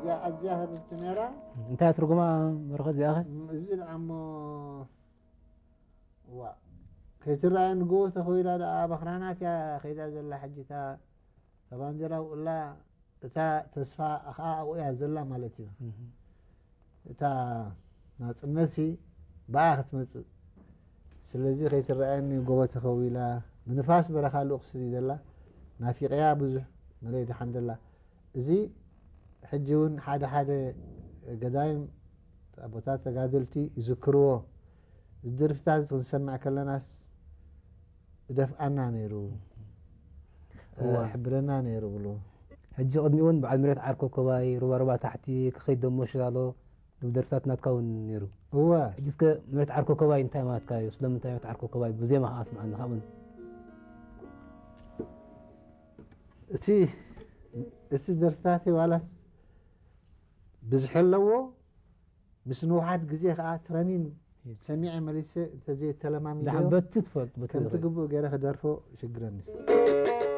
እያ ኣዝያ ህብብቲ ነይራ። እንታይ ትርጉማ? በረኸት እዚኣኸ ም- እዚ ደኣ እሞ ዋ ከይትረኣየኒ ጎቦ ተኸዊላ ደኣ በኽራናት እያ ከይዳ ዘላ። ሕጂ እታ እታ ባንዲራ ውላ እታ ተስፋ ከዓ ኣብኡ እያ ዘላ ማለት እዩ። እታ ናፅነት ሲ ብኣ ክትመፅእ። ስለዚ ከይትረኣየኒ ጎቦ ተኸዊላ ብንፋስ በረኻ ልኡኽ ስዲ ዘላ ናፊቀያ ብዙሕ መለይ ደሓን ዘላ። እዚ ሕጂ እውን ሓደ ሓደ ገዳይም ኣቦታት ተጋደልቲ ይዝክርዎ። እዚ ደርፍታት እዚ ክንሰምዕ ከለናስ እደፍኣና ነይሩ፣ እዋ። ሕብረና ነይሩ ብሉ። ሕጂ ቅድሚኡ እውን በዓል ምሬት ዓር ኮኮባይ፣ ሩባሩባ ታሕቲ፣ ክኸይድ ደሞ ሽላሎ፣ ደርፍታት ናትካ እውን ነይሩ። እወ ሕጂ እስከ ምሬት ዓር ኮኮባይ እንታይ ማለትካ እዩ? ስለምንታይ ምሬት ዓር ኮኮባይ ብዜማ ከዓ ኣስምዓና ካብኡን። እቲ እቲ ደርፍታተይ ዋላስ ብዝሒ ኣለዎ፣ ምስ ንውሓት ግዜ ከዓ ትረኒን ሰሚዐ መሊሰ እንተዘይተለማሚዶ ዳሓን በቲ ትፈልጥ በቲ ከምቲ ትኽእል። ግቡእ ገይረ ክደርፎ ይሽግረኒ።